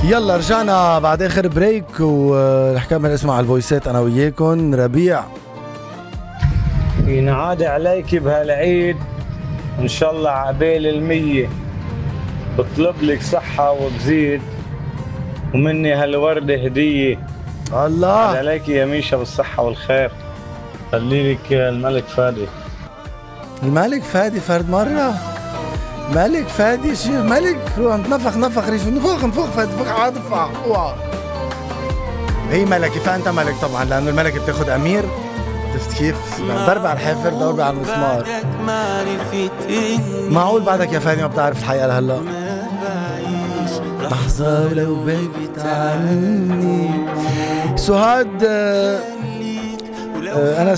يلا رجعنا بعد اخر بريك ورح كمل اسمع الفويسات انا وياكم. ربيع ينعاد عليك بهالعيد ان شاء الله عقبال 100، بطلب لك صحة وبزيد ومني هالوردة هدية. الله عليك يا ميشا بالصحة والخير. خلي لك الملك فادي. الملك فادي فرد مرة. ملك فادي شو ملك؟ روح نفخ ريش نفخ فادي فخ عاطفة. هي ملكي فانت ملك طبعا لانه الملكة بتاخد امير. شفت كيف؟ ضرب على الحافر ضرب على المسمار. معقول بعدك يا فادي ما بتعرف الحقيقة لهلا؟ لحظة ولو بعدت عني. سهاد أنا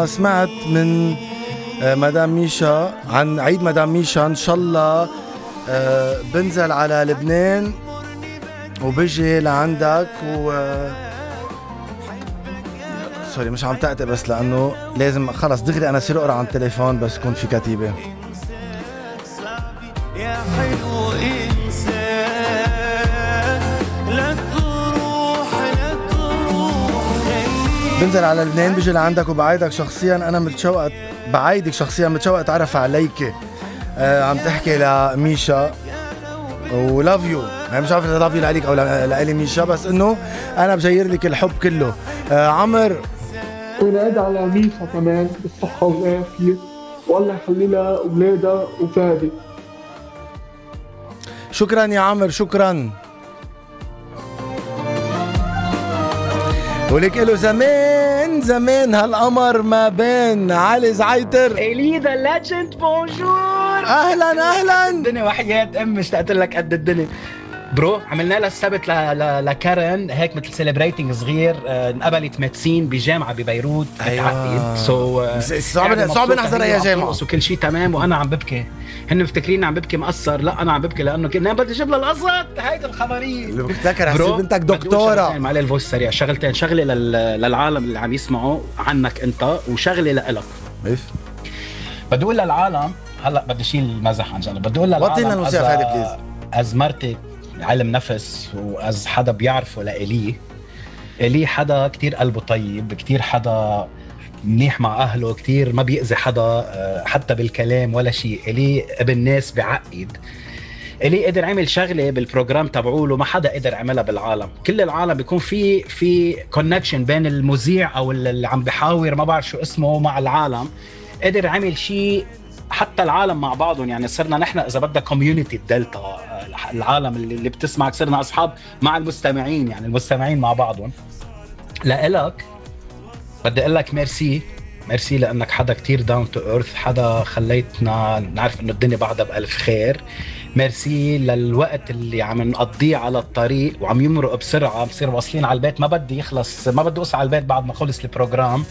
سمعت من مدام ميشا عن عيد مدام ميشا. إن شاء الله بنزل على لبنان وبجي لعندك سوري مش عم تقطع بس لأنه لازم خلص دغري أنا صير أقرأ عن التليفون بس كون في كتيبة. يا حلو إنسان لا تروح بنزل على لبنان بيجي لعندك وبعايدك شخصيا أنا متشوقة بعايدك شخصيا متشوقة أتعرف عليك. عم تحكي لميشا ولاف يو مش عارف إذا لاف يو لعليك أو لألي ميشا بس إنه أنا بجير لك الحب كله. عمر ونادى على ميشا كمان بالصحة والعافية والله يخلي لها أولادها وفادي. شكرا يا عمر شكرا. ولك له زمان هالقمر ما بين علي زعيتر. إلي ذا ليجند بونجور. اهلا الدنيا وحياة ام اشتقت لك قد الدنيا برو. عملنا لها السبت لكارن هيك مثل سيلبريتنج صغير. انقبلت ماتسين بجامعه ببيروت. ايوه صعب نحضر اي جامعه وكل شيء تمام وانا عم ببكي. هن مفتكرين عم ببكي مقصر. لا انا عم ببكي لانه كنا بدي اجيب لها القسط. هيدي الخبريه اللي بفتكر حسيت بنتك دكتوره. معلي الفويس سريع. شغله للعالم اللي عم يسمعوا عنك انت وشغله لإلك. ايش بدي اقول للعالم هلا بدي شيل المزح عن جنب. بدي اقول للعالم وطينا الموسيقى هذه بليز. از مرتي علم نفس واز حدا بيعرفه لإلي حدا كتير قلبه طيب كتير حدا منيح مع أهله كتير ما بيأذي حدا حتى بالكلام ولا شيء. إلي ابن ناس بعقد. إلي قدر عمل شغلة بالبروجرام تبعوله ما حدا قدر عملها بالعالم. كل العالم بيكون في كونكشن بين المذيع أو اللي عم بحاور ما بعرف شو اسمه مع العالم. قدر عمل شيء حتى العالم مع بعضهم. يعني صرنا نحن إذا بدنا كوميونيتي الدلتا العالم اللي بتسمعك صرنا أصحاب مع المستمعين. يعني المستمعين مع بعضهم. لإلك بدي أقول لك ميرسي لأنك حدا كتير داون تو ايرث. حدا خليتنا نعرف إنه الدنيا بعدها بألف خير. ميرسي للوقت اللي عم نقضيه على الطريق وعم يمرق بسرعة. بصير واصلين على البيت ما بدي يخلص ما بدي أوصل على البيت بعد ما خلص البروجرام.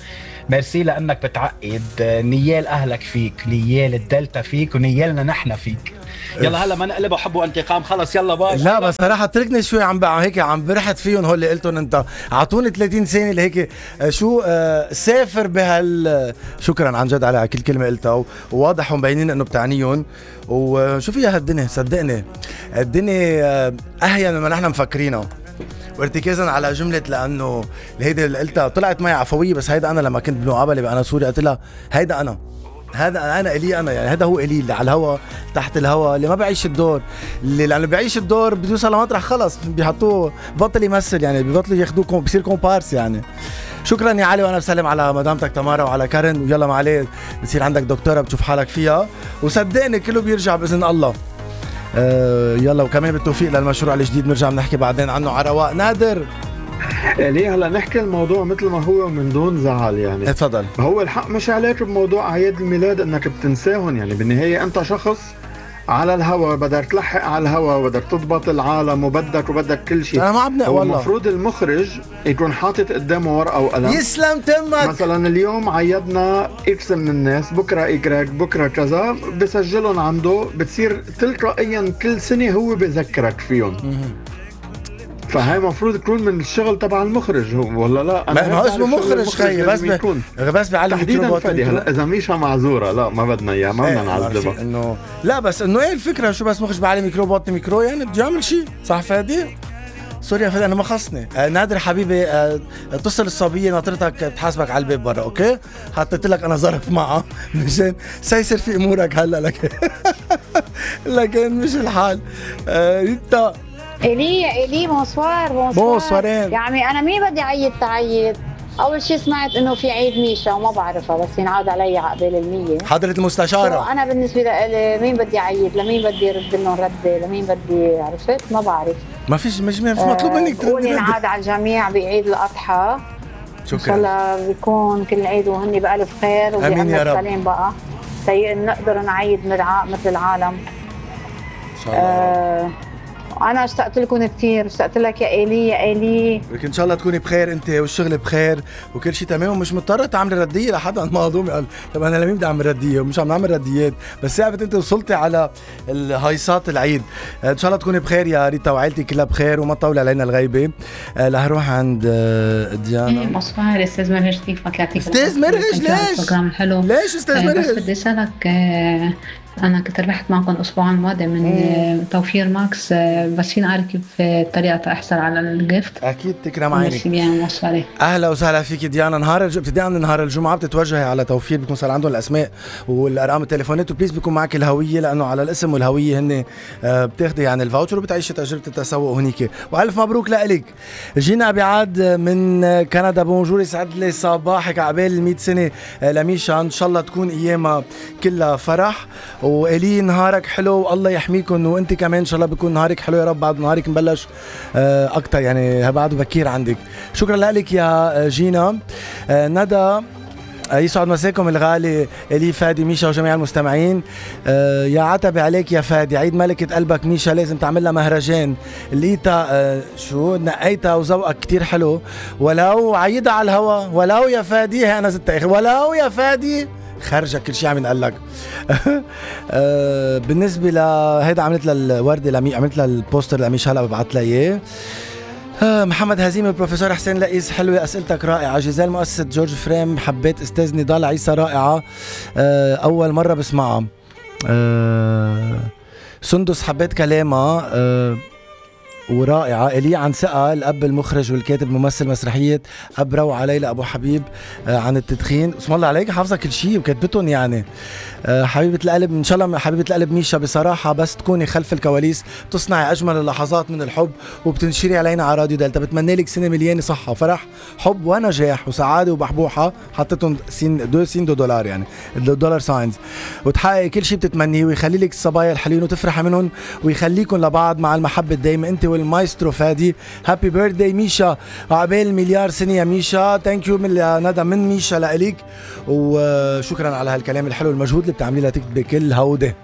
ميرسي لأنك بتعقد. نيال أهلك فيك نيال الدلتا فيك ونيالنا نحن فيك. يلا هلا ما نقلبها حب وانتقام خلص يلا باي. لا بس صراحة تركني شوي هيك عم برحت فيهم هول اللي قلتهم انت. اعطوني 30 ثانية لهيك شو سافر شكرا عن جد على كل كلمة قلتها وواضح ومبينين انه بتعنيهم. وشو فيها هالدنيا صدقني الدنيا اهين مما نحن مفكرينه. وارتكازا على جملة لانه هيدا اللي قلتها طلعت معي عفوية بس هيدا انا لما كنت بمقابلة بأنا سوري قلت لها هيدا انا إلي انا يعني هذا هو إلي اللي على الهوا تحت الهوا اللي ما بعيش الدور اللي لانه بيعيش الدور بده يوصل لمطرح خلص بيحطوه بطل يمثل يعني ببطلوا ياخذوه بصير كومبارس يعني. شكرا يا علي وانا بسلم على مدامتك تمارا وعلى كارن. ويلا ما عليه بتصير عندك دكتورة بتشوف حالك فيها وصدقني كله بيرجع باذن الله. يلا وكمان بالتوفيق للمشروع الجديد بنرجع بنحكي بعدين عنه على رواق. نادر ليه هلا نحكي الموضوع مثل ما هو من دون زعل يعني. اتفضل. هو الحق مش عليك بموضوع اعياد الميلاد انك بتنساهم يعني. بالنهايه انت شخص على الهوا بدك تلحق على الهوا وبدك تضبط العالم وبدك كل شيء. انا ما عم هو المفروض المخرج يكون حاطط قدامه ورقه وقلم. يسلم تمك. مثلا اليوم عيدنا اكس من الناس بكره ايكراك بكره كذا بسجلهم عنده بتصير تلقائيا كل سنه هو بذكرك فيهم. فهي مفروض تكون من الشغل تبع المخرج ولا لا؟ ما هو اسمه مخرج خيي، بس بيعلم تحديدا ميكروبات فادي. هلا اذا ميشا معذوره، لا ما بدنا اياها، ما بدنا نعذبها. انه لا بس انه ايه الفكره، شو بس مخرج بعلم ميكروبات ميكرو يعني بده يعمل شيء صح فادي؟ سوري يا فادي انا ما خصني. نادر حبيبي اتصل الصبيه ناطرتك تحاسبك على الباب برا، اوكي؟ حطيت لك انا ظرف معها مشان سيسر في امورك هلا لكن مش الحال. انت إلي بونسوارين. يعني أنا مين بدي عيد تعيد؟ أول شي سمعت إنه في عيد ميشا وما بعرفها، بس ينعاد علي عقبال المية. حضرة المستشارة أنا بالنسبة لي مين بدي عيد؟ لمين بدي رد لهم ردة؟ لمين بدي عرفت؟ ما بعرف. ما فيش مش مطلوب منك تردي. قول ينعاد على الجميع بعيد الأضحى. شكرا. إن شاء الله بيكون كل عيد وهني بألف خير وبأمن سلام بقى. نقدر نعيد مثل العالم. إن شاء الله. أنا اشتقت لكم كثير، اشتقت لك يا إيلي. لكن إن شاء الله تكوني بخير أنت والشغل بخير وكل شيء تمام، ومش مضطرة تعملي ردية لحدا مهضوم قال طب أنا لمين بدي أعمل ردية ومش عم نعمل رديات، بس ثابت أنت وصلتي على الهيصات العيد. إن شاء الله تكوني بخير يا ريتا وعائلتك كلها بخير وما تطول علينا الغيبة. رح نروح عند ديانا. مصفار أستاذ مرهج كيفك؟ يعطيك أستاذ مرهج ليش أستاذ مرهج؟ بس بدي أسألك، أنا كنت ربحت معكم الأسبوع الماضي من توفير ماكس، بس فينا أعرف كيف طريقة أحصل على الجيفت؟ أكيد تكرم عينك. مصفاري. أهلا وسهلا فيك ديانا. ابتداء من نهار الجمعة بتتوجهي على توفير، بيكون صار عندهم الأسماء والأرقام التليفونات، وبليز بيكون معك الهوية، لأنه على الاسم والهوية هن بتاخدي يعني الفاوتشر وبتعيشي تجربة التسوق هنيك. وألف مبروك لإلك. جينا بعاد من كندا. بونجور، يسعد لي صباحك عقبال 100 سنة لميشا، إن شاء الله تكون أيامها كلها فرح. وإلي نهارك حلو والله يحميكم، وانت كمان ان شاء الله بيكون نهارك حلو يا رب. بعد نهارك مبلش اكتر يعني بعده بكير عندك. شكرا لك يا جينا. ندى، يسعد مساكم الغالي إلي، فادي، ميشا وجميع المستمعين. يا عتبي عليك يا فادي، عيد ملكة قلبك ميشا لازم تعمل لها مهرجان. لقيتها شو نقيتها وذوقك كتير حلو، ولو عيدها على الهوا، ولو يا فادي. هي انا زدت اخر ولو يا فادي خرجة كل شيء عم ينقال لك. بالنسبة لهيدا عملت لها الوردة عملت لها البوستر لميشا، هلا ببعث لها اياه. محمد هزيم، البروفيسور حسين لئيس، حلوة أسئلتك رائعة. جيزال، مؤسسة جورج فريم، حبيت أستاذ نضال عيسى رائعة، أول مرة بسمعها. سندس، حبيت كلامها ورائعة. إلي عن ثقة، الأب المخرج والكاتب ممثل مسرحية أب روعة ليلى أبو حبيب عن التدخين. اسم الله عليك حافظة كل شيء وكتبتهم يعني. حبيبة القلب، إن شاء الله حبيبة القلب ميشا، بصراحة بس تكوني خلف الكواليس بتصنعي أجمل اللحظات من الحب وبتنشري علينا على راديو دلتا. بتمنى لك سنة مليانة صحة وفرح، حب ونجاح وسعادة وبحبوحة، حطيتهم سين دولار يعني الدولار ساينز، وتحققي كل شيء بتتمنيه، ويخلي لك الصبايا الحلوين وتفرحي منهم، ويخليكم لبعض مع المحبة الدايمة انت والمايسترو فادي. هابي بيرثداي ميشا، عقبال مليار سنة يا ميشا. ثانك يو ندى من ميشا لإليك، وشكرا على هالكلام الحلو، المجهود اللي بتعمليه لتكتبي كل هودة.